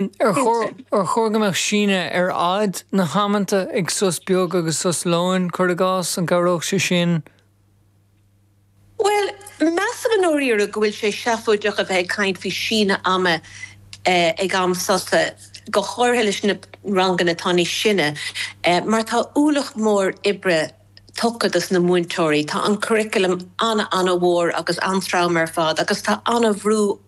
Ar chóir ar chóir go mbeadh síneadh ar fhad na hamanta ag sos beag agus sos lóin, cuir i gcás, an gcabhródh sé sin? Bhuel, measaim i ndáiríre go bhfuil sé seafóideach a bheith ag caint faoi síneadh ama ag am sosa, go háirithe leis na ranganna atá níos sine, mar tá ualach mór oibre tugtha dos na múinteoirí. Tá an curriculum an-an-mhór agus an-trom ar fad agus tá an-bhrú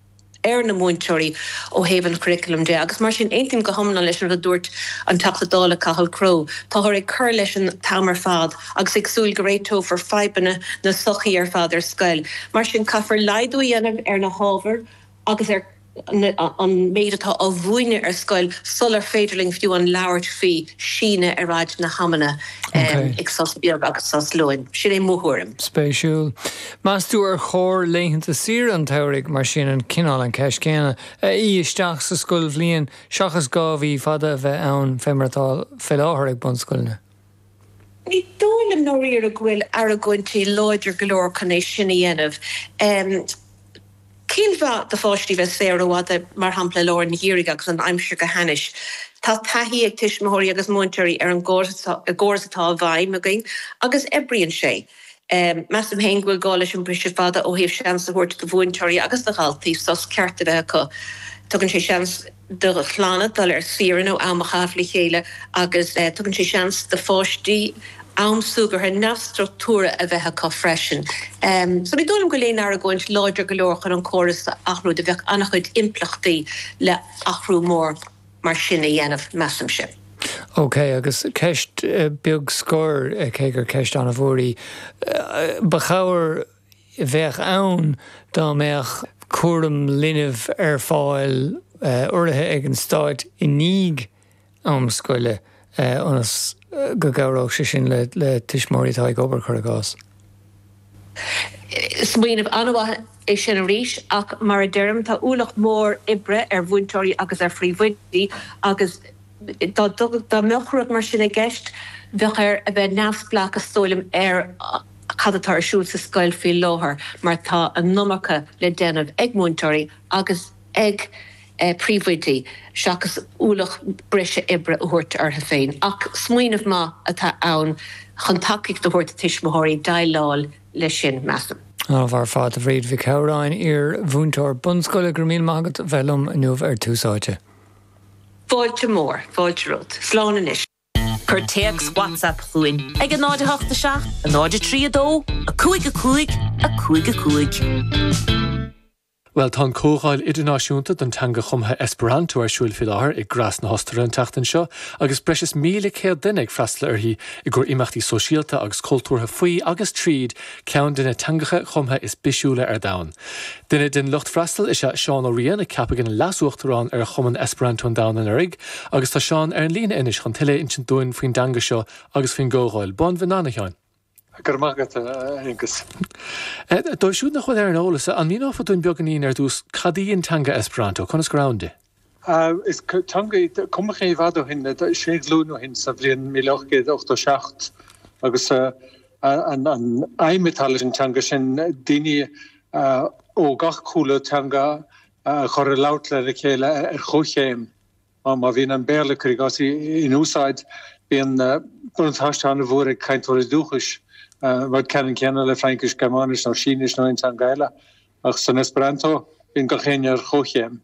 ar na múinteoirí ó thaobh an churriculum de agus mar sin aontaím go hiomlán leis an rud a dúirt an Teachta Dála Cathal Crowe. Táthar ag cur leis an t-am ar fad agus ag súil go réiteofar fadhbanna na sochaí ar fad ar scoil. Mar sin caithfear laghdú a dhéanamh ar na hábhair agus ar an méid atá á mhúineadh ar scoil sular féidir linn fiú an labhairt faoi síneadh ar fhad na hamanna ag sos beag agus sos lóin. Sin é mo thuairim. Spéisiúil. Meas tú ar chóir laethanta saoire an tsamhraidh, mar sin, an cineál an cheist chéanna, a fhí isteach sa scoilbhliain seachas 2 mhí fada a bheith ann fé mar atá fé láthair ag bunscoileanna? Ní dóigh liom i ndáiríre go bhfuil argóintí láidir go leor chun é sin a dhéanamh. Cén mhaith do pháistí bheith saor rófhada, mar shampla i lár an gheimhridh agus an aimsir go hainnis? Tá taithí ag tuismitheoirí agus múinteoirí ar an gcóras atá i bhfeidhm againn agus oibríonn sé. Measaim féin go bhfuil gá leis an briseadh fada ó thaobh seans a thabhairt do mhúinteoirí agus do dhaltaí sos ceart a bheith acu. Tugann sé seans do chlanna dul ar saoire nó am a chaitheamh le chéile agus tugann sé seans do pháistí am súgartha neamhstruchtúrtha a bheith acu freisin. So ní dóigh liom go bhfuil aon argóint láidir go leor chun an córas a athrú, do bheadh an-chuid impleachtaí le athrú mór mar sin a dhéanamh, measaimse. Ok, agus ceist beag scoir, cé gur ceist an-mhór í, ba chabhair a bheadh ann dá mbeadh cúram linbh ar fáil urraithe ag an stáit i ndiaidh am scoile ionas go gcabhródh sé sin le tuismitheoirí atá ag obair, cuir i gcás. Smaoineamh an-mhaith é sin arís ach mar a deirim, tá ualach mór oibre ar mhúinteoirí agus ar phríomhoidí agus dá dá mbeadh rud mar sin i gceist, bheadh air a bheith neamhspleách is dóigh liom ar cad atá ar siúl sa scoil faoi láthair mar tá an iomarca le déanamh ag múinteoirí agus ag príomhoidí seachas ualach breise oibre a thabhairt orthu féin. Ach smaoineamh maith atá ann chun tacaíocht a thabhairt do tuismitheoirí déileáil leis sin, measaim. An-mhaith ar fad, a Bhríd Mhic Shamhráin, iar-mhúinteoir bunscoile, go raibh míle maith agat a bheith liom inniu ar Tús Áite. Fáilte mhór, fáilte romhat. Slán anois. Cuir téacs WhatsApp chugainn ag 0 8 7 0 3 2 5 5 5 5. Bhuel, tá an Comhdháil Idirnáisiúnta don Teanga Chumtha Esperanto ar siúil faoi láthair i Graz na hOstaire an tseachtain seo agus breis is 1,100 duine ag freastal uirthi i gcomhair imeachtaí sóisialta agus cultúrtha faoi agus tríd ceann de na teangacha chumtha is bisiúla ar domhan. Duine den lucht freastail is ea Seán Ó Riain, a ceapadh ina Leas-Uachtarán ar Chumann Esperanto an Domhain anuraidh agus tá Seán ar an líne anois chun tuilleadh a insint dúinn faoin dteanga seo agus faoin gcomhdháil. Bonvenana, a Sheáin. Go raibh maith agat, a Aonghus. Dóibh siúd nach bhfuil ar an eolas, an míneofá dúinn beagáinín ar dtús cad í an teanga Esperanto, conas gur ann di? Is teanga í, cumadh í i bhfad ó shin, sé ghlúin ó shin, sa bhliain 1887, agus an aidhm atá leis an teanga sin daoine ó gach cúlra teanga a chur ag labhairt lena chéile ar chomhchéim. Má bhíonn an Béarla, cuir i gcás, in úsáid, bíonn buntáiste an-mhór ag cainteoirí dúchais, rud ceannann céanna le Fraincis, Gearmáinis nó Sínis nó aon teanga eile. Ach san Esperanto, bíonn gach éinne ar chomhchéim.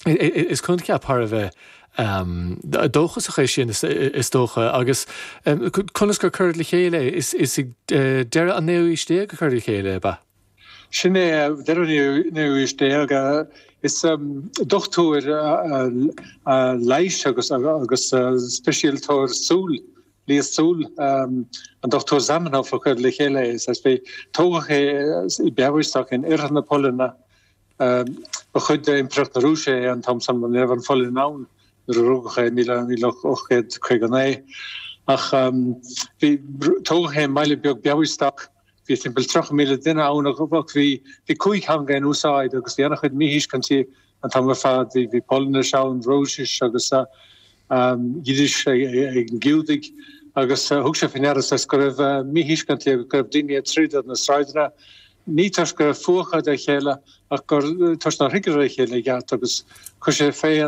Is coincheap thar a bheith dóchasach é sin, is dócha. Agus conas gur cuireadh le chéile é? Is ag deireadh an naoú haois déag a cuireadh le chéile é, ab ea? Sin é, deireadh an naoú haois déag. Is dochtúir leighis agus speisialtóir súl, leigheas súl, an Dr Zamenhof a chuir le chéile é. Tógadh é i Białystok in oirthear na Polainne. Ba chuid d'Impireacht na Rúise é an t-am san, ní raibh an Pholainn ann nuair a rugadh é i 1859. Ach bhí, tógadh é i mbaile beag Białystok. Bhí timpeall 30,000 duine ann ach bhí cúig theanga in úsáid agus bhí an-chuid míthuiscintí an t-am ar fad. Bhí Polainnis ann, Rúisis agus Yiddish ag na Giúdaigh agus thug sé faoi ndeara saghas go raibh míthuiscintí agus go raibh daoine ag troid ar na sráideanna. Ní toisc go raibh fuath acu dá chéile ach gur toisc nár thuigeadar a chéile i gceart agus chuir sé féin.